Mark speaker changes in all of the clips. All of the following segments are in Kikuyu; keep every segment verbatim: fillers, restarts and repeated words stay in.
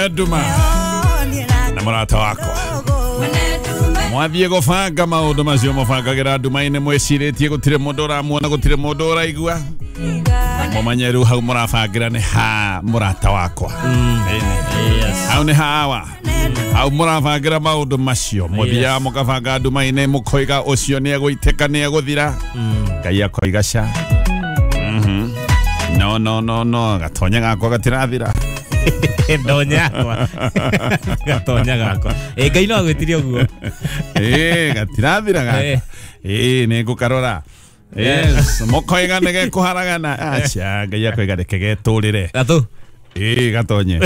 Speaker 1: Mwene nduma na mũrata wakwa mwathiĩ gũbanga maũndũ macio mũbangagĩra nduma-inĩ mwĩcirĩtie gũtirĩ mũndũ ũramuona gũtirĩ mũndũ ũraigua mũmenye rĩu hau mũrabangĩra nĩ ha mũrata wakwa hau nĩ hawa hau mũrabangĩra maũndũ macio mũthiaga mũkabanga nduma-inĩ mũkoiga ũcio nĩ egũitĩka nĩ egũthira Ngai akoiga ca no no no no gatonya gakwa gatirathira
Speaker 2: ndonya akwa gatonya gakwa eh Ngai no agwitirie uguo
Speaker 1: eh gatirathira gaka eh nĩ ngũkarora yes mokoiga nĩ gekuharagana acha Ngai akoiga reke getũrĩre
Speaker 2: gatũ
Speaker 1: eh gatonye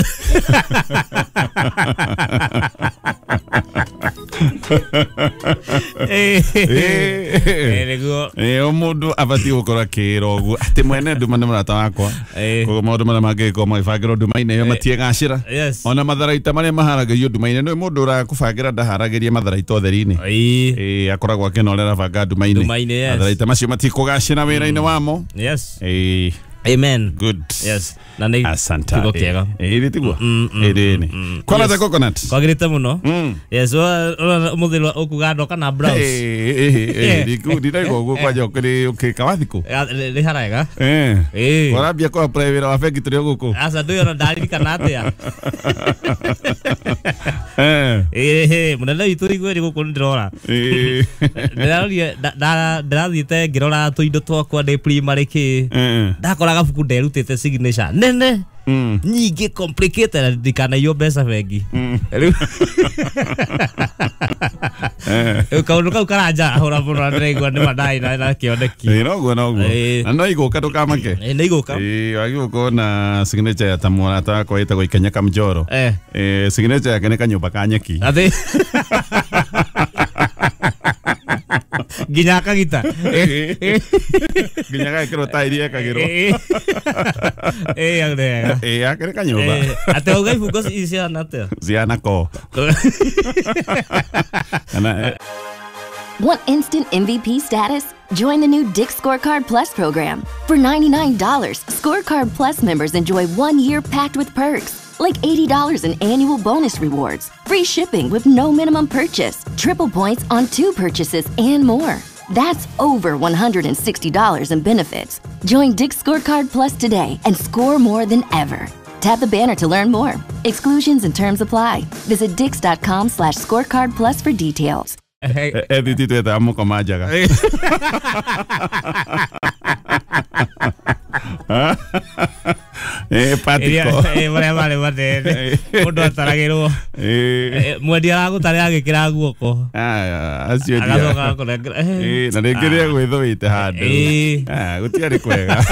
Speaker 2: eh eh nĩguo
Speaker 1: eh o mũndũ abatiĩ gũkorwo akĩĩra ũguo atĩ mwene nduma nĩ mũrata wakwa koguo maũndũ marĩa mangĩgĩkorwo magĩbangĩrwo nduma-inĩ ĩyo matiegacĩra ona matharaita marĩa maharagĩrio nduma-inĩ nĩ mũndũ ũrakũbangĩra ndaharagĩria matharaita ũtheri-inĩ eh akoragwo akĩona ũrĩa arabanga nduma-inĩ matharaita macio matikũgacĩra wĩra-inĩ wamo
Speaker 2: yes
Speaker 1: eh
Speaker 2: amen
Speaker 1: good
Speaker 2: yes na nĩ
Speaker 1: asante
Speaker 2: kiugo kĩega
Speaker 1: eh ĩ tiguo ĩ nĩ kwana ta coconut
Speaker 2: kwagĩrĩte mũno yes ũmũthĩ ũkuga ndoka na blouse
Speaker 1: eh eh eh ndiraigua ũguo kwanja ũkĩrĩ ũkĩka wathikũ
Speaker 2: nĩ harega
Speaker 1: eh
Speaker 2: eh
Speaker 1: warambia kwa apply wĩra wa bengi tũrĩ o gũkũ
Speaker 2: aca ndũĩ ona ndaririkana atĩa
Speaker 1: eh
Speaker 2: eh mũnene witũ igue nĩ gũkũ ndĩrora
Speaker 1: eh
Speaker 2: ndĩrarorie ndĩrathiĩte ngĩrora tũindo twakwa ndĩ primary kĩ ndakora gabuku nderutĩte signature nene nyingĩ complicated na ndikanaiywo mbeca bengi rĩu rĩu kaũndũ kau karanjarahũra mũno na ndĩraigua nĩ ma ndarĩ na kĩoneki
Speaker 1: ĩ noguo noguo na no igũka ndũkamake
Speaker 2: nĩ igũka
Speaker 1: ĩ wagĩrĩirwo gũkorwo na signature ya ta mũrata wakwa wĩtagwo Ikenya Kamjoro eh signature yake nĩ kanyũmba ka nyeki
Speaker 2: atĩ nginya akagita
Speaker 1: nginya gagĩkĩrwo tairi ekagĩrwo
Speaker 2: ĩ wega
Speaker 1: ĩ akĩrĩ kanyũmba
Speaker 2: atĩ wauga ibungo cihana atĩa
Speaker 1: cihana ko
Speaker 3: Want instant M V P status? Join the new Dick's Scorecard Plus program. For ninety-nine dollars, Scorecard Plus members enjoy one year packed with perks, like eighty dollars in annual bonus rewards, free shipping with no minimum purchase, triple points on two purchases, and more. That's over one hundred sixty dollars in benefits. Join Dick's Scorecard Plus today and score more than ever. Tap the banner to learn more. Exclusions and terms apply. Visit dicks.com slash scorecard plus for details.
Speaker 1: Edit twethaga mũkoma njaga eh patiko
Speaker 2: eh marĩa marĩ manene mũndũ ataragĩrwo mwendia aragũtarĩra agĩkĩra guoko
Speaker 1: acio
Speaker 2: agacoka agakũnengera
Speaker 1: eh na rĩngĩ rĩa gwĩthũĩte handũ ah gũtiarĩ kwega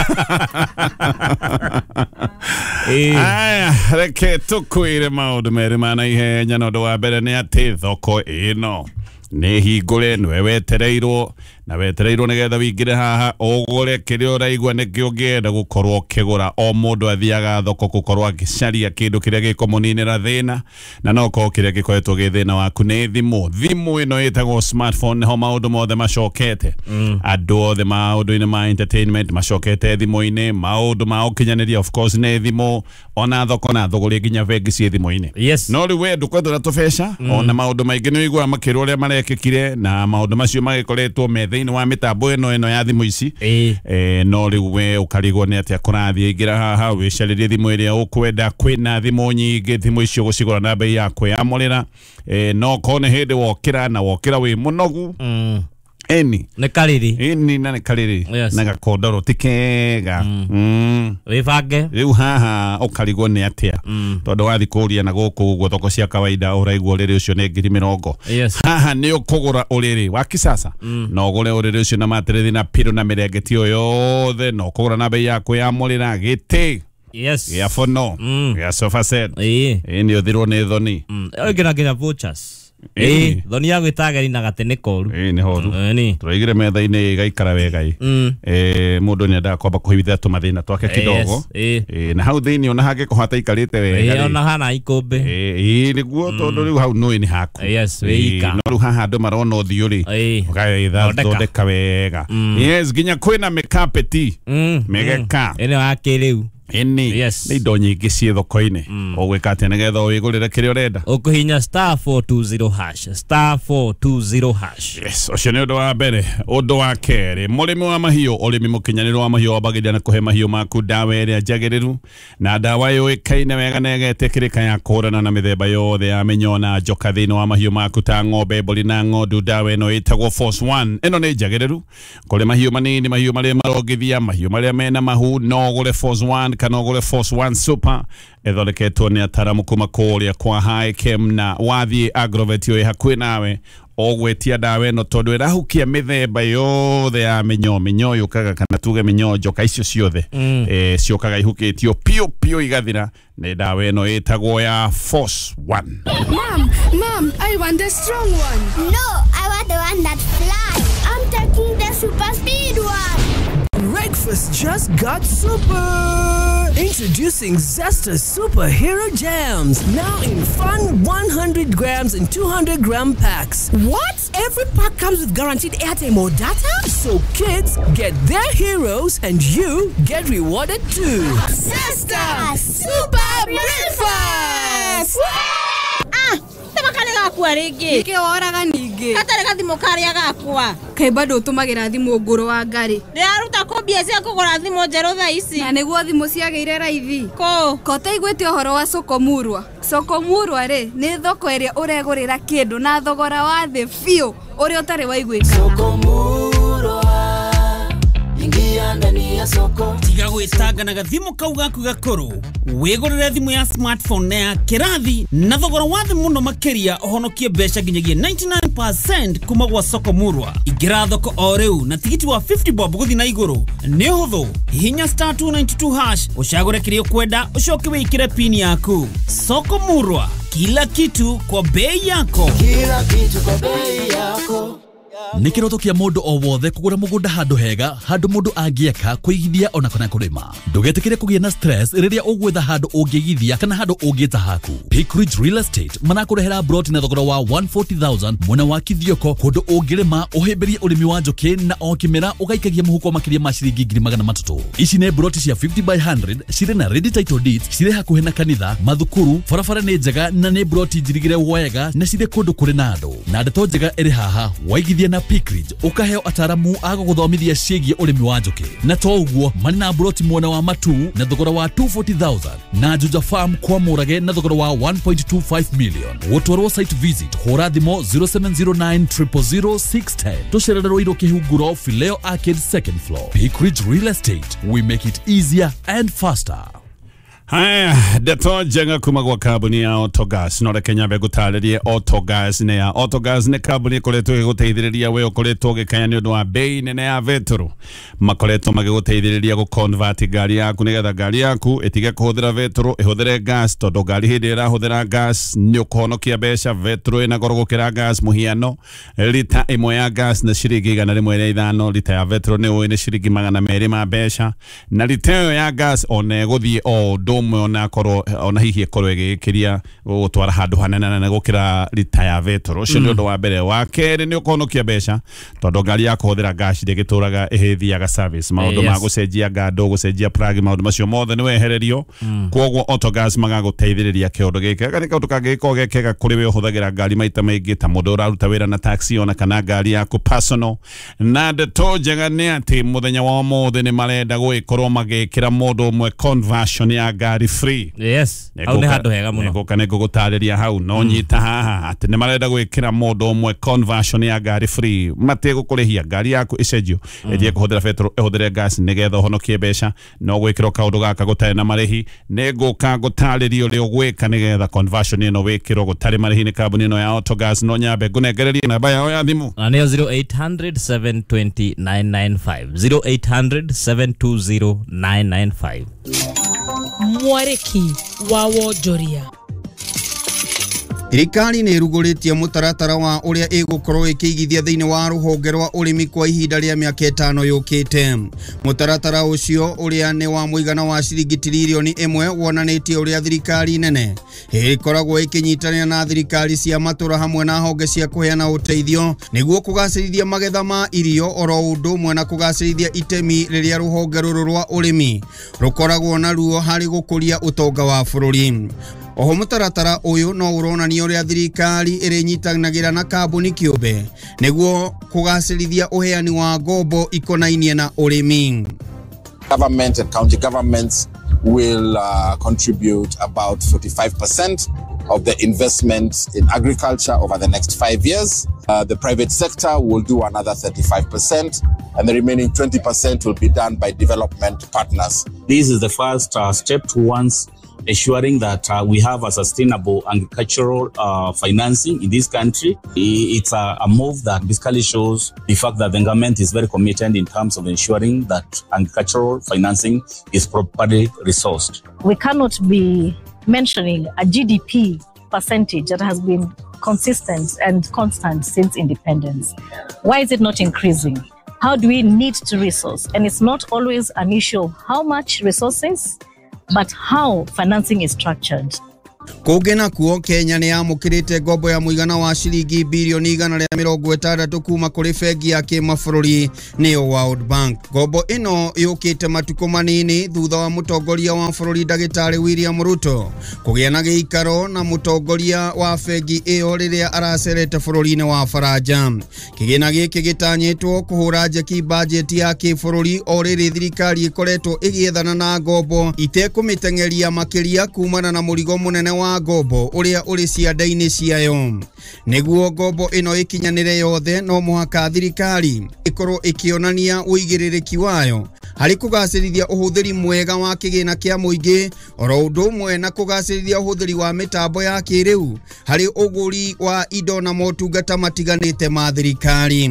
Speaker 1: aya reke tũkwĩre maũndũ merĩ ma naihenya na ũndũ wa mbere nĩ atĩ thoko ĩno nĩ hingũre nĩwe wetereirwo na wetereirwo nĩgetha wĩingĩre haha ũgũre kĩrĩa ũraigua nĩkĩo ũngĩenda gũkorwo ũkĩgũra o mũndũ athiaga thoko gũkorwo akĩcaria kĩndũ kĩrĩa gĩkũmũninĩra thĩna na no korwo kĩrĩa gĩkoretwo gĩ thĩna waku nĩ thimũ thimũ ĩno ĩtagwo smartphone nĩho maũndũ mothe macokete andũ othe maũndũ-inĩ ma entertainment macokete thimũ-inĩ maũndũ ma ũkinyanĩria of course nĩ thimũ ona thoko na thũgũrĩ nginya bengi ciĩ thimũ-inĩ
Speaker 2: yes
Speaker 1: no rĩu we ndũkwenda na tũbeca ona maũndũ maingĩ nĩ ũiguaga makĩrwo ũrĩa marekĩkire na maũndũ macio magĩkoretwo me thĩinĩ wa mĩtambo ĩno ĩno ya thimũ ici eh no rĩu we ũkarigwo nĩ atĩa kũrathiĩ ingĩra haha wĩcarĩrie thimũ ĩrĩa ũkwenda kwĩna thimũ nyingĩ thimũ icio ũgũcigũra na bei ya kwĩyamũrĩra eh no korwo nĩ hĩndĩ wokĩra na wokĩra wĩ mũnogu eni
Speaker 2: nĩ karĩrĩ
Speaker 1: eni na nĩ karĩrĩ na gakondoro ti kega
Speaker 2: wĩbange
Speaker 1: rĩu haha ũkarigwo nĩ atĩa tondũ wathiĩ kũria na gũkũ ũguo thoko cia kawaida ũraigua ũrĩrĩ ũcio nĩ ngiri mĩrongo haha nĩ ũkũgũra ũrĩrĩ wa kisasa na ũgũre ũrĩrĩ ũcio na matĩrĩthi na piro na mĩrengeti ĩyo yothe na ũkũgũra na bei ya kwĩyamũrĩra gĩtĩ
Speaker 2: yes
Speaker 1: gĩa bono gĩa sofa set
Speaker 2: ĩ
Speaker 1: nĩ ũthirwo nĩ thoni
Speaker 2: ĩngĩ nginya vouchers ĩ thoni ya gwĩta ageni na gatĩ nĩ koru
Speaker 1: ĩ nĩ horu tũraigire metha-inĩ ĩgaikara wega ĩ eh mũndũ nĩ endaga kwamba kũhithia tũmathĩna twake kidogo ĩ na hau thĩinĩ ona hangĩkorwo hataikarĩte wega
Speaker 2: ĩ ona hana ikũmbĩ
Speaker 1: ĩ nĩguo tondũ rĩu hau nũĩ nĩ haku
Speaker 2: yes wĩika
Speaker 1: no rĩu haha andũ marona ũthiũ rĩ ũgagĩthondeka wega yes nginya kwĩna mĩkapeti mĩgeka
Speaker 2: ĩno ya kĩrĩu
Speaker 1: Ĩni.
Speaker 2: Yes.
Speaker 1: Nĩ indo nyingĩ ciĩ thoko-inĩ. Ũgwĩka atĩa nĩgetha wĩgũrĩre kĩrĩa ũrenda?
Speaker 2: Ũkũhinya star four two zero hash, star four two zero hash.
Speaker 1: Yes, ũcio nĩ ũndũ wa mbere. Ũndũ wa kerĩ, mũrĩmi wa mahiũ, ũrĩmi mũkinyanĩru wa mahiũ wambagĩrĩria na kũhe mahiũ maku ndawa ĩrĩa njagĩrĩru na ndawa yũĩkaine wega na ĩgetĩkĩrĩka ya kũhũrana na mĩthemba yothe ya mĩnyoo na njoka thĩinĩ wa mahiũ maku ta ng'ombe, mbũri na ng'ondu. Ndawa ĩno ĩtagwo Force One. Ĩno nĩ njagĩrĩru kũrĩ mahiũ manini, mahiũ marĩa marongithia, mahiũ marĩa mena mahu. No ũgũre Force One kana ũgũre Force One Super. Ĩthondeketwo nĩ ataramu kuma kũrĩa kwa Hikem, na wathiĩ Agrovet ĩ hakuhĩ nawe ũgwĩtia ndawa ĩno tondũ ĩrahukia mĩthemba yothe ya mĩnyoo. Mĩnyoo yũkaga kana tuge mĩnyoo njoka icio ciothe mm. e, ciũkaga ihukĩtio piũ piũ igathira. Nĩ ndawa ĩno ĩtagwo ya Force One.
Speaker 4: Mom, mom, I want the strong one.
Speaker 5: No, I want the one that flies. I'm taking the super speed one.
Speaker 6: Breakfast just got super! Introducing Zesta Superhero Jams, now in fun one hundred grams and two hundred gram packs.
Speaker 7: What? Every pack comes with guaranteed airtime or data?
Speaker 6: So kids get their heroes and you get rewarded too.
Speaker 7: Zesta Super Breakfast!
Speaker 8: Ah! Kale gakwa rĩngĩ.
Speaker 4: Nĩkĩ woraga ningĩ?
Speaker 8: Gatarĩ gathimũ karĩa gakwa.
Speaker 4: Kaĩ bado ũtũmagĩra thimũ ngũrũ wa ngari?
Speaker 8: Ndĩraruta kũ mbia cia kũgũra thimũ njerũ thaa ici?
Speaker 4: Na nĩguo thimũ ciagĩire raithi.
Speaker 8: Kũ?
Speaker 4: Ko ũtaiguĩte ũhoro wa Sokomurwa? Sokomurwa rĩ, nĩ thoko ĩrĩa ũregũrĩra kĩndũ na thogora wa thĩ biũ ũrĩa ũtarĩ waiguĩkana.
Speaker 9: Sokomurwa, ingia ndani ya soko.
Speaker 10: Tiga gwĩtanga na gathimũ kau gaku gakũrũ. Wĩgũrĩre thimũ ya smartphone na ya kĩrathi na thogora wa thĩ mũno makĩria, ũhonokie mbeca nginyagia ninety-nine percent kuma gwa Sokomurwa. Ingĩra thoko o rĩu na tigiti wa fifty bob gũthiĩ na igũrũ. Nĩ ũhũthũ, hihinya star two ninety-two hash ũcagũre kĩrĩa ũkwenda ũcoke wĩkĩre pin yaku. Sokomurwa, kila kitu kwa bei yako.
Speaker 9: Kila kitu kwa bei yako.
Speaker 11: Nĩ kĩroto kĩa mũndũ o wothe kũgũra mũgũnda handũ hega, handũ mũndũ angĩaka, kũigithia ona kana kũrĩma. Ndũgetĩkĩre kũgĩa na stress rĩrĩa ũgwetha handũ ũngĩigithia kana handũ ũngĩta haku. Peak Ridge Real Estate marakũrehera broti na thogora wa one forty thousand mwena wa Kithioko, kũndũ ũngĩrĩma ũhĩmbĩrie ũrĩmi wa njũkĩ na o kĩmera ũgaikagia mũhuko makĩria ma ciringi ngiri magana matatũ. Ici nĩ broti cia fifty by hundred cirĩ na ready title deeds, cirĩ hakuhĩ na kanitha, mathukuru, barabara nĩ njega na nĩ broti njirigĩre wega na cirĩ kũndũ kũrĩ na andũ. Na ndeto njega ĩrĩ haha, waigithia na Peak Ridge ukaheo ataramu a gũgũthomithia ciĩgiĩ ũrĩmi wa njũkĩ. Na to ũguo marĩ na broti mwena wa Matu na thogora wa two forty thousand na Juja Farm kwa Mũrage na thogora wa one point two five million. Gũtwarwo site visit hũra thimũ zero seven zero nine triple zero six ten. Tũcererwo Irũ Kĩhunguro, Fileo Arcade second floor. Peak Ridge Real Estate, we make it easier and faster.
Speaker 1: Haya, ndeto njega kuma gwa kambuni ya Autogas. No reke nyambe ngũtarĩrie Autogas nĩ ya. Autogas nĩ kambuni ĩkoretwo ĩgĩgũteithĩrĩria we ũkoretwo ũgĩkaya nĩ ũndũ wa bei nene ya betũrũ. Makoretwo magĩgũteithĩrĩria gũ-convert ngari yaku nĩgetha ngari yaku ĩtige kũhũthĩra betũrũ ĩhũthĩre gas, tondũ ngari hĩndĩ ĩrĩa ĩrahũthĩra gas nĩ ũkũhonokia mbeca. Betũrũ ĩna goro gũkĩra gas. Mũhiano, rita ĩmwe ya gas nĩ ciringi igana rĩmwe rĩa ithano, rita ya betũrũ nĩ ũĩ nĩ ciringi magana merĩ ma mbeca, na rita ĩyo ya gas ona ĩgũthiĩ o ũndũ ũmwe ona korwo ona hihi ĩkorwo ĩgĩkĩria gũgũtwara handũ hanene nene gũkĩra rita ya betũrũ. Ũcio nĩ ũndũ wa mbere. Wa kerĩ nĩ ũkũhonokia mbeca tondũ ngari ya kũhũthĩra gas ndĩgĩtũraga ĩgĩthiaga service. Maũndũ ma gũcenjia ngando, gũcenjia plug, maũndũ macio mothe nĩ wehererio. Kwoguo Autogas magagũteithĩrĩria kĩũndũ gĩkĩ. Gaka nĩ kaũndũ kangĩgĩkorwo ge kega kũrĩ we ũhũthagĩra ngari maita maingĩ ta mũndũ ũraruta wĩra na taxi ona kana ngari yaku personal. Na ndeto njega nĩ atĩ mũthenya wa ũmũthĩ nĩ marenda gũgĩkorwo magĩkĩra mũndũ ũmwe conversion ya ngari free.
Speaker 2: Yes, hau nĩ handũ hega mũno.
Speaker 1: Nĩngũka nĩngũgũtarĩria hau, no nyita haha atĩ nĩ marenda gwĩkĩra mũndũ ũmwe conversion ya ngari free. Mategũkũrĩhia ngari yaku ĩcenjio ĩthiĩ kũhũthĩra betũrũ ĩhũthĩre gas nĩgetha ũhonokie mbeca. No gwĩkĩrwo kaũndũ gaka gũtarĩ na marĩhi. Nĩngũka ngũtarĩrie ũrĩa ũgwĩka nĩgetha conversion ĩno wĩkĩrwo gũtarĩ marĩhi nĩ kambuni ĩno ya Autogas. No nyambe ngũnengererie namba yao ya thimũ
Speaker 2: na nĩyo zero eight hundred seven twenty nine nine five, zero eight hundred seven two zero nine nine five.
Speaker 12: Mwariki wa wonjoria. Thirikari nĩ ĩrugũrĩtie mũtaratara wa ũrĩa ĩgũkorwo ĩkĩigithia thĩinĩ wa rũhonge rwa ũrĩmi kwa ihinda rĩa mĩaka ĩtano yũkĩte. Mũtaratara ũcio ũrĩa nĩ wa mũigana wa ciringi tiririoni ĩmwe wonanĩtie ũrĩa thirikari nene ĩkoragwo ĩkĩnyitanĩra na thirikari cia matũra hamwe na honge cia kũheana ũteithio nĩguo kũgacĩrithia magetha ma irio oro ũndũ ũmwe na kũgacĩrithia itemi rĩrĩa rũhonge rũrũ rwa ũrĩmi rũkoragwo naruo harĩ gũkũria ũtonga wa bũrũri. Oho mũtaratara ũyũ no ũronania ũrĩa thirikari ĩrĩnyitanagĩra na kambuni kĩũmbe nĩguo kũgacĩrithia ũheani wa ngombo ikonainie na ũrĩmi.
Speaker 13: Government and county governments will uh, contribute about forty-five percent of the investment in agriculture over the next five years. Uh, the private sector will do another thirty-five percent, and the remaining twenty percent will be done by development partners.
Speaker 14: This is the first uh, step towards ensuring that uh, we have a sustainable agricultural uh, financing in this country. It's a, a move that basically shows the fact that the government is very committed in terms of ensuring that agricultural financing is properly resourced.
Speaker 15: We cannot be mentioning a G D P percentage that has been consistent and constant since independence. Why is it not increasing? How do we need to resource? And it's not always an issue of how much resources, but how financing is structured.
Speaker 12: Kũngĩ nakuo Kenya nĩ yamũkĩrĩte ngombo ya mũigana wa ciringi birioni igana rĩa mĩrongo ĩtandatũ kuma kũrĩ bengi ya kĩmabũrũri nĩyo World Bank. Ngombo ĩno yũkĩte matukũ manini thutha wa mũtongoria wa bũrũri ndagĩtarĩ William Ruto kũgĩa na gĩikaro na mũtongoria wa bengi ĩyo rĩrĩa aracerete bũrũri-inĩ wa Faranja. Kĩgĩna gĩkĩ gĩtanyĩtwo kũhũra njeki bajeti ya kĩbũrũri o rĩrĩ thirikari ĩkoretwo ĩgĩethana na ngombo itekũmĩteng'eria makĩria kumana na mũrigo mũnene wa ngombo ũrĩa ũrĩ cianda-inĩ ciayo. Nĩguo ngombo ĩno ĩkinyanĩre yothe no mũhaka thirikari ĩkorwo ĩkĩonania ũigĩrĩrĩki wayo harĩ kũgacĩrithia ũhũthĩri mwega wa kĩgĩna kĩa mũingĩ oro ũndũ ũmwe na kũgacĩrithia ũhũthĩri wa mĩtambo ya kĩrĩu harĩ ũgũri wa indo na motungata matiganĩte ma thirikari.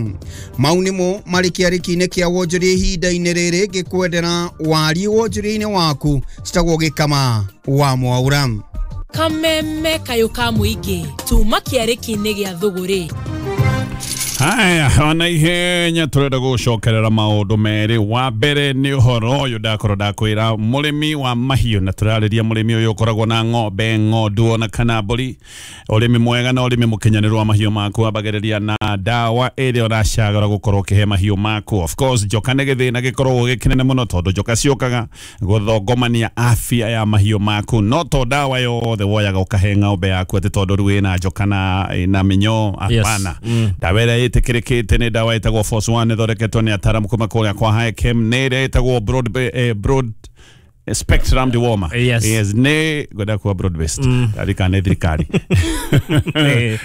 Speaker 12: Mau nĩmo marĩ kĩarĩki-inĩ kĩa wonjoria ihinda-inĩ rĩrĩ ngĩkwendera wariĩ wonjoria-inĩ waku citagwo Gĩkama wa Mwaura.
Speaker 16: Kameme kayo ka mũingĩ tuma kĩarĩki-inĩ gĩa thũgũrĩ.
Speaker 1: Haya, ona ihenya turenda gucokerera maundu meri. Wa mbere ni uhoro uyu ndakorwo ndakwira murimi wa mahiũ, na turariria murimi uyu ukoragwo na ng'ombe, ng'ondu ona kana mbũri. Urimi mwega na urimi mukinyaniru wa mahiũ maku ambagĩrĩria na ndawa ĩrĩa ũracagũra gũkorwo ũkĩhe mahiũ maku. Of course njoka nĩ gĩthĩna gĩkoragwo gĩkĩnene mũno tondũ njoka ciũkaga gũthongomania afya ya mahiũ maku. No to ndawa yothe woyaga ũkahe ng'ombe yaku atĩ tondũ rĩu ĩna njoka na ĩna mĩnyoo, hapana. Ndawa ĩrĩa ĩtĩkĩrĩkĩte nĩ ndawa ĩtagwo Force One, ĩthondeketwo nĩ ataaramu kuma kũrĩa kwa Hichem. Nĩ ĩrĩa ĩtagwo broad, eh, broad spectrum dewormer.
Speaker 2: Yes.
Speaker 1: Yes, nĩ ngwenda kuga broad based.
Speaker 2: Mm.
Speaker 1: Ndarikana nĩ thirikari.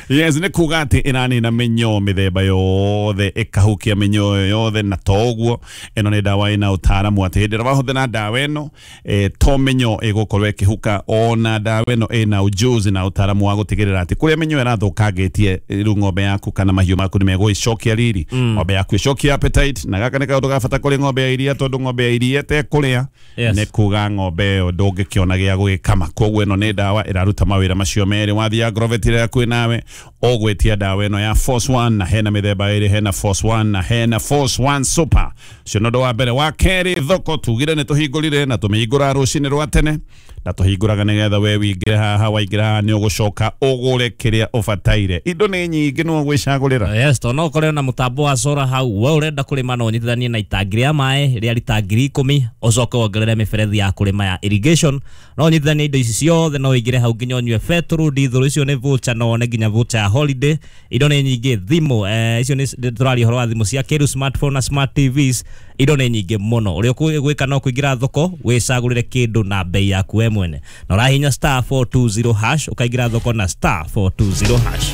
Speaker 1: Yes, nĩ kuga atĩ ĩranina mĩnyoo mĩthemba yothe, ĩkahukia mĩnyoo yothe, na to ũguo ĩno nĩ ndawa ĩna ũtaaramu atĩ hĩndĩ ĩrĩa wahũthĩra ndawa ĩno eh, to mĩnyoo ĩgũkorwo ĩkĩhuka, ona ndawa ĩno ĩna ujuzi na ũtaaramu wa gũtigĩrĩra atĩ kũrĩa mĩnyoo ĩrathũkangĩtie rĩu ng'ombe yaku kana mahiũ maku nĩmegũĩcokia riri.
Speaker 2: Mm.
Speaker 1: Ng'ombe yaku ĩcokie appetite, na gaka nĩ kaũndũ ga bata kũrĩ ng'ombe ya iria tondũ ng'ombe ya iria ĩtekũrĩa
Speaker 2: Yes.
Speaker 1: nĩ kuga ng'ombe ĩyo ndũngĩkĩona gĩa gũgĩkama. Koguo ĩno nĩ ndawa ĩraruta mawĩra macio merĩ. Wathiĩ Agrovet ĩrĩa hakuhĩ nawe ũgwĩtia ndawa ĩno ya Force One, na hena mĩthemba ĩrĩ, hena Force One na hena Force One Super. Ũcio nĩ ũndũ wa mbere. Wa kerĩ, thoko tugire nĩ tũhingũrire na tũmĩhingũra rũcinĩ rwa tene, na tũhingũraga nĩgetha we wĩingĩre haha, waingĩra haha nĩ ũgũcoka ũgũre kĩrĩa ũbataire. Indo nĩ nyingĩ no ũgwĩcagũrĩra.
Speaker 2: Yes, to no ũkore na mũtambo wa solar hau. We ũrenda kũrĩma no ũnyitithanie na itangi rĩa maĩ rĩa rita ngiri ikũmi, ũcoke wongerere mĩberethi ya kũrĩma ya irrigation. No ũnyitithanie indo ici ciothe, no ũingĩre hau nginya ũnyue betũrũ, ndithũrũ, icio nĩ voucher, no wone nginya voucher ya holiday. Indo nĩ nyingĩ, thimũ, eh, icio nĩ tũraria ũhoro wa thimũ cia kĩrĩu, smartphone na smart T Vs. Indo nĩ nyingĩ mũno. Ũrĩa ũgwĩka no kũingĩra thoko wĩcagũrĩre kĩndũ na bei yaku we mwene, na ũrahihinya star four two zero hash ũkaingĩra thoko na star four two zero hash.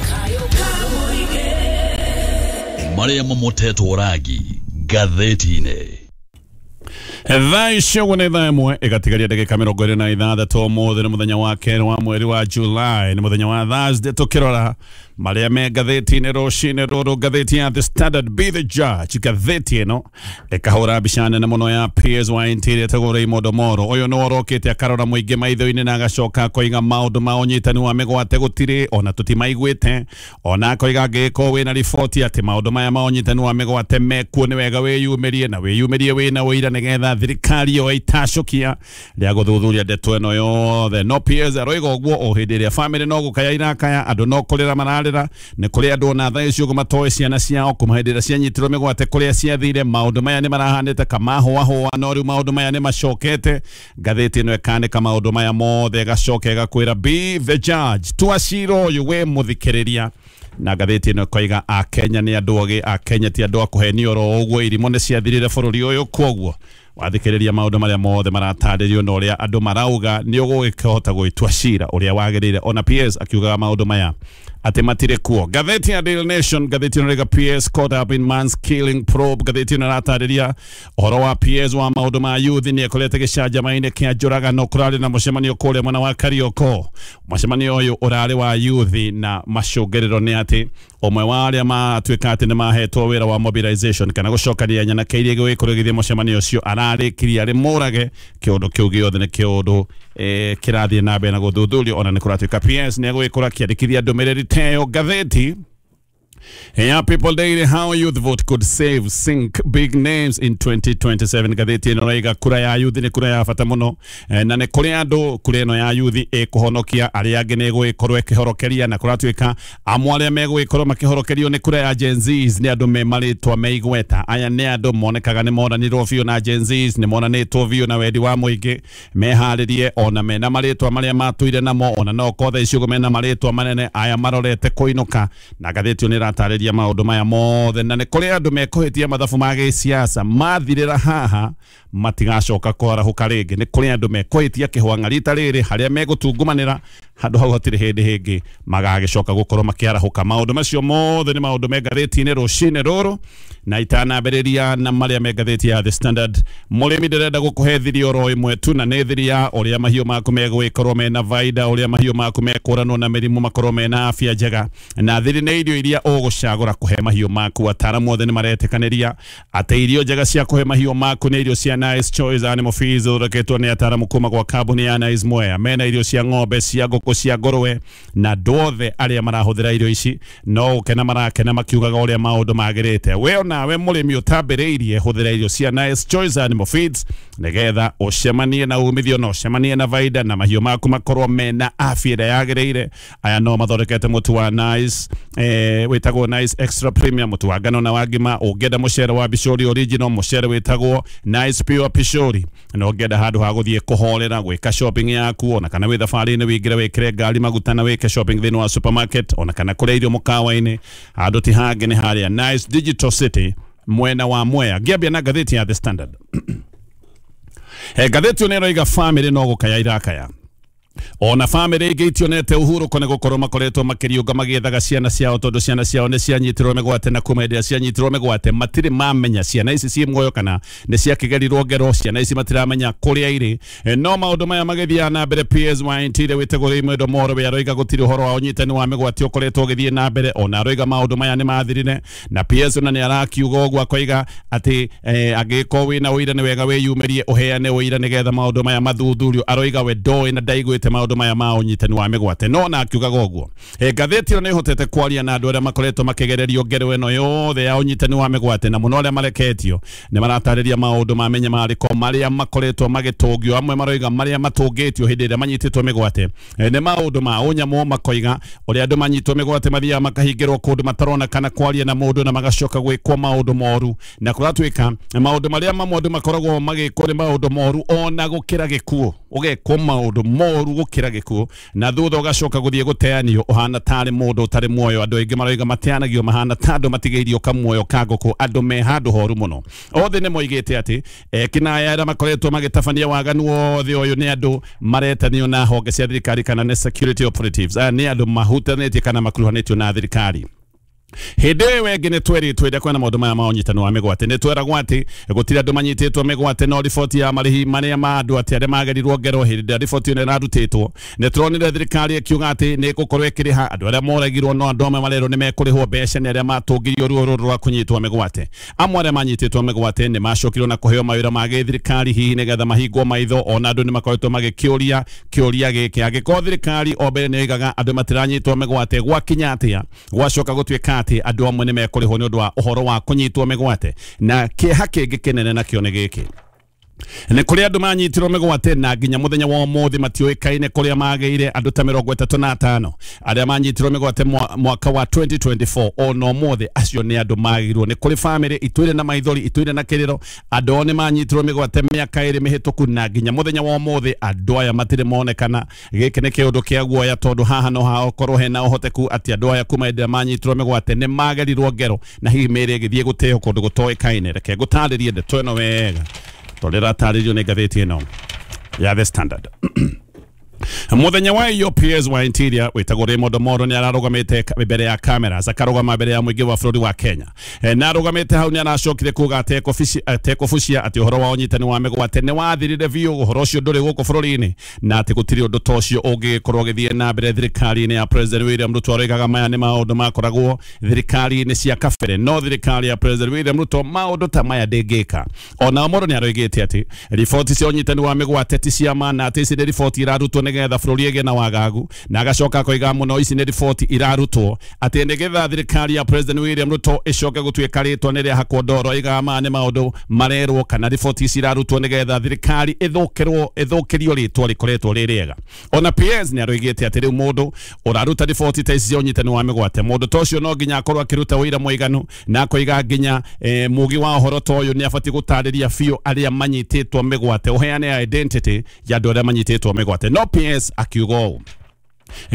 Speaker 11: Marĩa mamotetwo rangi ngathĩti-inĩ.
Speaker 1: Thaa icio ũguo nĩ thaa ĩmwe ĩgatigaria ndagĩka mĩrongo ĩrĩ na ithathatũ. Ũmũthĩ nĩ mũthenya wa kerĩ wa mweri wa July, nĩ mũthenya wa Thursday. Tũkĩrora marĩa me ngathĩti-inĩ rũcinĩ rũrũ, ngathĩti ya The Standard, Be the Judge, ngathĩti ĩno ĩkahũra mbica nene mũno ya P S wa Interior ĩtagwo Raymond Omoro. Ũyũ nĩ orokĩte akarora mũingĩ maitho-inĩ na agacoka akoiga maũndũ ma ũnyitani wa mĩgwate gũtirĩ ona tũtimaiguĩte, ona akoiga angĩgĩkorwo wĩna riboti atĩ maũndũ maya ma ũnyitani wa mĩgwate mekuo nĩ wega wĩyumĩrie na wĩyumĩrie wĩna ũira nĩgetha thirikari yoe itacũkia rĩa gũthuthuria ndeto ĩno yothe. No P S aroiga ũguo o hĩndĩ ĩrĩa famĩlĩ no gũkaya irakaya, andũ no kũrĩra mararĩra, nĩ kũrĩ andũ ona thaa icio ũguo matoĩ ciana ciao kuma hĩndĩ ĩrĩa cianyitirwo mĩgwate kũrĩa ciathire. Maũndũ maya nĩ marahanĩte kamahũahũa, no rĩu maũndũ maya nĩ macokete. Ngathĩti ĩno ĩkanĩka maũndũ maya mothe ĩgacoka ĩgakwĩra be the judge, tua cira ũyũ wĩ mũthikĩrĩria. Na ngathĩti ĩno ĩkoiga Akenya nĩ andũ ogĩ, Akenya ti andũ a kũhenio oro ũguo, irimũ nĩ ciathirire bũrũri ũyũ. Kwoguo wathikĩrĩria maũndũ marĩa mothe maratarĩrio na ũrĩa andũ marauga nĩ ũgũgĩkĩhota gwĩtua cira ũrĩa wagĩrĩire. Ona P S akiugaga maũndũ maya atĩ matirĩ kuo. Ngathĩti ya Daily Nation, ngathĩti ĩno ĩrauga P S caught up in man's killing probe. Ngathĩti ĩno ĩratarĩria ũhoro wa P S wa maũndũ ma youth nĩ ekorete gĩcanjama-inĩ kĩa njũragano. Kũrarĩ na mũcemanio kũrĩa mwena wa Karioko. Mũcemanio ũyũ ũrarĩ wa youth na macũngĩrĩro nĩ atĩ ũmwe wa arĩa matuĩka atĩ nĩ mahetwo wĩra wa mobilization kana gũcokania nyanake iria igũgĩkorwo igĩthiĩ mũcemanio ũcio ararĩkirie arĩ mũrage. Kĩũndũ kĩu gĩothe nĩ kĩũndũ eh, kĩrathiĩ na mbere na gũthuthurio. Ona nĩ kũratuĩka P S nĩ egũgĩkorwo akĩandĩkithia ndũmĩrĩri teyo. Ngathĩti ya People Daily, how youth vote could save sink big names in twenty twenty-seven. Ngathĩti ĩno ĩrauga kura ya youth nĩ kura ya bata mũno, na nĩ kũrĩ andũ kura ĩno ya youth ĩkũhonokia arĩa angĩ nĩ ĩgũgĩkorwo ĩkĩhorokeria, na kũratuĩka amwe arĩa megũgĩkorwo makĩhorokerio nĩ kura ya Gen Zs nĩ andũ me marĩtwa me igweta. Aya nĩ andũ monekaga nĩ monanirwo biũ na Gen Zs, nĩ monanĩtwo biũ na wendi wa mũingĩ, meharĩrie ona mena marĩtwa marĩa matũire namo, ona no kothe icio mena marĩtwa manene aya marorete kũinũka. Na ngathĩti ĩno ĩratarĩria maũndũ maya mothe, na nĩ kũrĩ andũ mekũhĩtia mathabu ma gĩsiasa mathirĩra haha matigacoka kwarahũka rĩngĩ. Nĩ kũrĩ andũ mekũhĩtia kĩhwang'a rita rĩrĩ harĩa megũtungumanĩra handũ hau hatirĩ hĩndĩ hĩngĩ magagĩcoka gũkorwo makĩarahũka. Maũndũ macio mothe nĩ maũndũ me ngathĩti-inĩ rũcinĩ rũrũ, na itanambĩrĩria na marĩa me ngathĩti ya The Standard. Mũrĩmi ndĩrenda gũkũhe thiri oro ĩmwe tu, na nĩ thiri ya ũrĩa mahiũ maku megũgĩkorwo mena baida, ũrĩa mahiũ maku mekũranwo na mĩrimũ makorwo mena afya njega, na thiri nĩ irio iria ũgũcagũra kũhe mahiũ maku. Ataaramu othe nĩ maretĩkanĩria atĩ irio njega cia kũhe mahiũ maku nĩ irio cia Nice Choice Animal Feeds, ithondeketwo nĩ ataaramu kuma gwa kambuni ya Nice Mwea. Mena irio cia ng'ombe, cia ngũkũ, cia ngũrwe, na andũ othe arĩa marahũthĩra irio ici no gũkena marakena makiugaga ũrĩa maũndũ magĩrĩte. We onawe mũrĩmi ũtambĩrĩirie, hũthĩra irio cia Nice Choice Animal Feeds nĩgetha ũcemanie na umithio na ũcemanie na baida na mahiũ maku makorwo mena afya ĩrĩa yagĩrĩire. Aya no mathondekete mũtu wa Nice eh, wĩtagwo Nice Extra Premium, mũtu wa ngano na wa ngima. Ũngĩenda mũcere wa Bishori Original, mũcere wĩtagwo Nice Pure Pishori, na ũngĩenda handũ ha gũthiĩ kũhorera gwĩka shopping yaku, ona kana wĩ thabarĩ-inĩ wĩingĩre wĩkĩre ngari maguta na wĩke shopping thĩinĩ wa supermarket, ona kana kũrĩa irio mũkawa-inĩ, handũ ti hangĩ nĩ harĩa Nice Digital City mwena wa Mwea. Ngĩambia na ngathĩti ya The Standard. Ngathĩti ĩno ĩroiga famĩlĩ no gũkaya irakaya. Ona famĩlĩ ingĩ itionete ũhurũko nĩ gũkorwo makoretwo makĩriũnga magĩethaga ciana ciao, tondũ ciana ciao nĩ cianyitirwo mĩgwate, na kuma hĩndĩ ĩrĩa cianyitirwo mĩgwate matirĩ mamenya ciana ici ciĩ muoyo kana nĩ ciakĩgerirwo ngero, ciana ici matiramenya kũrĩa irĩ. No maũndũ maya magĩthiaga na mbere, P S wa Interior wĩtagwo Raymond Omoro we aroiga gũtirĩ ũhoro wa ũnyitani wa mĩgwate ũkoretwo ũgĩthiĩ na mbere. Ona aroiga maũndũ maya nĩ mathirire, na P S ona nĩ arakiuga ũguo akoiga atĩ eh, angĩkorwo wĩna ũira nĩ wega wĩyumĩrie ũheane ũira nĩgetha maũndũ maya mathuthurio. Aroiga we ndoĩ na ndaiguĩte maũndũ maya ma ũnyitani wa mĩgwate, no na akiugaga ũguo. Ngathĩti ĩno nĩ ĩhotete kwaria na andũ arĩa makoretwo makĩgererio ngero ĩno yothe ya ũnyitani wa mĩgwate, na mũno arĩa mareketio nĩ maratarĩria maũndũ ma mĩnyamarĩko marĩa makoretwo magĩtũngio. Amwe maroiga marĩa matũngĩtio hĩndĩ ĩrĩa manyitĩtwo mĩgwate nĩ maũndũ ma ũnyamũ, makoiga ũrĩa andũ manyitwo mĩgwate mathiaga makahingĩrwo kũndũ matarona kana kwaria na mũndũ na magacoka gwĩkwo maũndũ moru, na kũratuĩka maũndũ marĩa mamwe andũ makoragwo magĩkwo nĩ maũndũ moru ona gũkĩra gĩkuũ, ũgekwo maũndũ moru gũkĩra gĩkuũ, na thutha ũgacoka gũthiĩ gũteanio ũhana tarĩ mũndũ ũtarĩ muoyo. Andũ aingĩ maroiga mateanagio mahana ta andũ matigĩirio kamuoyo ka ngũkũ, andũ me handũ horu mũno. Othe nĩ moigĩte atĩ ekinaya arĩa makoretwo magĩtabania waganu wothe ũyũ nĩ andũ maretanio na honge cia thirikari kana nĩ security operatives. Aya nĩ andũ mahutanĩtie kana makuruhanĩtio na thirikari. Hĩndĩ ĩyo ĩngĩ nĩ tweritwo ĩrĩa kwĩna maũndũ maya ma ũnyitani wa mĩgwate nĩ tweragwo atĩ gũtirĩ andũ manyitĩtwo mĩgwate no riboti ya marĩhi marĩa ma andũ atĩ arĩa magerirwo ngero hĩndĩ ĩrĩa riboti ĩno ĩrarutĩtwo nĩ tũronire thirikari ĩkiuga atĩ nĩ ĩgũkorwo ĩkĩrĩha andũ arĩa moragirwo no andũ amwe marerwo nĩ mekũrĩhwo mbeca nĩ arĩa matũngirio ruo rũrũ rwa kũnyitwo mĩgwate. Amwe arĩa manyitĩtwo mĩgwate nĩ macokirwo na kũheo mawĩra ma gĩthirikari hihi nĩgetha mahingwo maitho ona andũ nĩ makoretwo magĩkĩũria kĩũria gĩkĩ angĩkorwo thirikari o mbere nĩ ĩigaga andũ matiranyitwo mĩgwate gwakinya atĩa gwacoka gũtuĩka atĩ andũ amwe nĩ mekũrĩhwo nĩ ũndũ wa ũhoro wa kũnyitwo mĩgwate. Na kĩeha kĩngĩ kĩnene nakĩo nĩ gĩkĩ nĩ kũrĩ andũ manyitirwo mĩgwate na nginya mũthenya wa ũmũthĩ matiũĩkaine kũrĩa magĩire andũ ta mĩrongo ĩtatũ na atano arĩa manyitirwo mĩgwate mwaka wa twenty twenty-four ona ũmũthĩ acio nĩ andũ magĩirwo. Nĩ kũrĩ famĩlĩ itũire na maithori itũire na kĩrĩro andũ ao nĩ manyitirwo mĩgwate mĩaka ĩrĩ mĩhĩtũku na nginya mũthenya wa ũmũthĩ andũ aya matirĩ monekana. Gĩkĩ nĩ kĩũndũ kĩa guoya tondũ haha no hakorwo hena ũhoteku atĩ andũ aya kuma hĩndĩ ĩrĩa manyitirwo mĩgwate nĩ magerirwo ngero na hihi mĩĩrĩ ĩgĩthiĩ gũteo kũndũ gũtoĩkaine. Reke ngũtarĩrie ndeto ĩno wega tondũ ĩratarĩrio nĩ ngathĩti ĩno ya The Standard. Muthenya wa iyo P S wa Interior wĩtagwo Raymond Omolo nĩ ararũgamĩte mbere ya cameras akarũgama mbere ya mũingĩ wa bũrũri wa Kenya e, na arũgamĩte hau nĩ aracokire kuga atekũbucia atĩ ũhoro wa ũnyitani wa mĩgwate nĩ wathirire biũ ũhoro ũcio ndũrĩ gũkũ bũrũri-inĩ na atĩ gũtirĩ ũndũ ta ũcio ũngĩgĩkorwo ũgĩthiĩ na mbere thirikari-inĩ ya President William Ruto. Aroigaga maya nĩ maũndũ makoragwo thirikari-inĩ cia kabere no thirikari ya President William Ruto maũndũ ta maya ndĩngĩka. Ona Omolo nĩ aroigĩte atĩ riboti cia ũnyitani wa mĩgwate ti cia ma na atĩ ici nĩ riboti irarutwo nĩgetha bũrũri ĩgĩe na wagagu na agacoka akoiga mũno ici nĩ riboti irarutwo atĩ nĩgetha thirikari ya President William Ruto ĩcoke gũtuĩka rĩtwa nĩ rĩahakwo ndoro. Aigaga maya nĩ maũndũ marerwo kana riboti ici irarutwo nĩgetha thirikari ĩthũkĩrwo ĩthũkĩrio rĩtwa rĩkoretwo rĩ rĩega. Ona P S nĩ aroigĩte atĩ rĩu mũndũ ũraruta riboti ta ici cia ũnyitani wa mĩgwate mũndũ ta ũcio no nginya akorwo akĩruta ũira mũiganu na akoiga nginya eh, mũgi wa ũhoro ta ũyũ nĩ abatiĩ gũtarĩria biũ arĩa manyitĩtwo mĩgwate ũheane identity ya andũ arĩa manyitĩtwo mĩgwate. No P S akiuga ũũ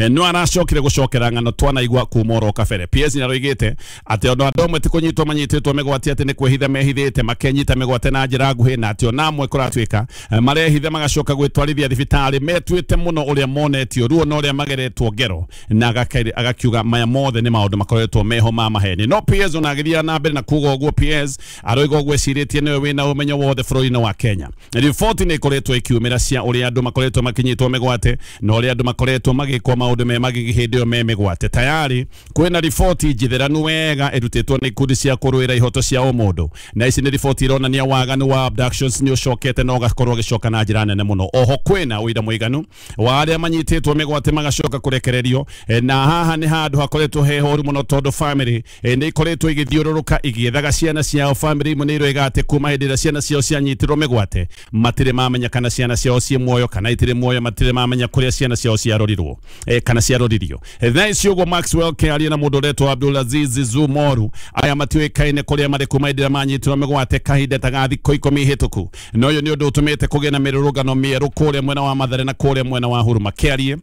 Speaker 1: no aracokire gucokera ng'ano twanaigua kuma oro kabere. P S nĩaroigĩte atĩ ona andũ amwe ti kũnyitwo manyitĩtwo mĩgwate atĩ nĩ kwĩhitha mehithĩte makenyita mĩgwate na njĩra nguhĩ na atĩ ona amwe kũratuĩka marehitha magacoka gwĩtwarithia thibitarĩ metuĩte mũno ũrĩa monetio ruo na ũrĩa mageretwo ngero na agakiuga maya mothe nĩ maũndũ makoretwo meho ma maheni. No P S ona agĩthiĩ na mbere na kuga ũguo P S aroiga ũguo ecirĩtie nĩwe wĩna ũmenyo wothe bũrũri-inĩ wa Kenya. Riboti nĩ ikoretwo ikiumĩra cia ũrĩa andũ makoretwo makinyitwo mĩgwate na ũrĩa andũ makoretwo magĩkwo maũndũ me magigi hĩndĩ ĩyo me mĩgwate. Tayari kwĩna riboti njitheranu wega ĩrutĩtwo nĩ ikundi cia kũrũĩra ihoto cia ũmũndũ na ici nĩ riboti ironania waganu wa abductions nĩ ũcokete na ũgakorwo ũgĩcoka na njĩra nene mũno. Oho kwĩna ũira mũiganu wa arĩa manyitĩtwo mĩgwate magacoka kũrekererio na haha nĩ handũ hakoretwo he horu mũno tondũ family nĩ ikoretwo igĩthiũrũrũka igĩethaga ciana ciao. Family imwe nĩ iroiga atĩ kuma hĩndĩ ĩrĩa ciana ciao cianyitirwo mĩgwate matirĩ mamenya kana ciana ciao ciĩ muoyo kana itirĩ muoyo matirĩ mamenya kũrĩa ciana ciao ciarorirwo e, kana ciaroririo. Thaa ici ũguo Maxwell Kĩaria na mũndũ ũretwo Abdulaziz Zumoru aya matiũĩkaine kũrĩa marĩ kuma hĩndĩ ĩrĩa manyitirwo mĩgwate kahinda ta ga thikũ ikũmi hĩtũku na ũyũ nĩ ũndũ ũtũmĩte kũgĩe na mĩrũrũngano mĩerũ kũrĩa mwena wa Mathare na kũrĩa mwena wa Huruma. Kĩarie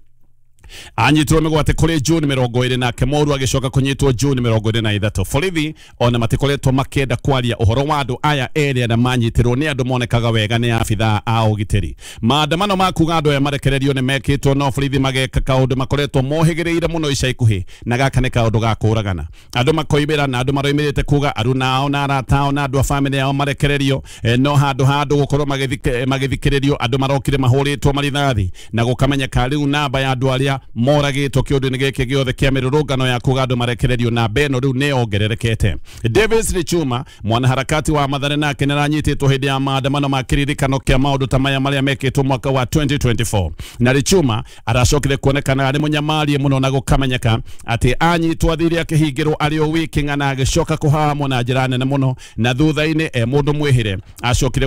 Speaker 1: anyitirwo mĩgwate kũrĩ June mĩrongo ĩrĩ nake Moru agĩcoka kũnyitwo June mĩrongo ĩrĩ na ithatũ. Borithi ona matikoretwo makĩenda kwaria ũhoro wa andũ aya erĩ arĩa manyitirwo nĩ andũ monekaga wega nĩ abithaa a ũgitĩri. Maandamano ma kuga andũ aya marekererio nĩ mekĩtwo no borithi mageka kaũndũ makoretwo mohĩgĩrĩire mũno ica ikuhĩ na gaka nĩ kaũndũ ga kũragana. Andũ makoimĩra na andũ maroimĩrĩte kuga aruna ao na arata ao na andũ a famĩlĩ yao marekererio e, no handũ ha andũ gũkorwo magĩthikĩrĩrio andũ marokire mahũrĩtwo marithathi na gũkamenyeka rĩu namba ya andũ arĩa moragĩtwo kĩũndũ-inĩ gĩkĩ gĩothe kĩa mĩrũrũngano ya kuga andũ marekererio na mbeno rĩu nĩ yongererekete. Davis Richuma mwanaharakati wa Mathare nake nĩaranyitĩtwo hĩndĩ ya maandamano ma kĩririkano kĩa maũndũ ta maya marĩa mekĩtwo mwaka wa twenty twenty-four na Richuma aracokire kuonekana arĩ mũnyamarie mũno na gũkamenyeka atĩ anyitwo athire akĩhingĩrwo arĩ o wiki ng'ana agĩcoka kũhahamwo na njĩra nene mũno na thutha-inĩ e mũndũ mwĩhĩre acokire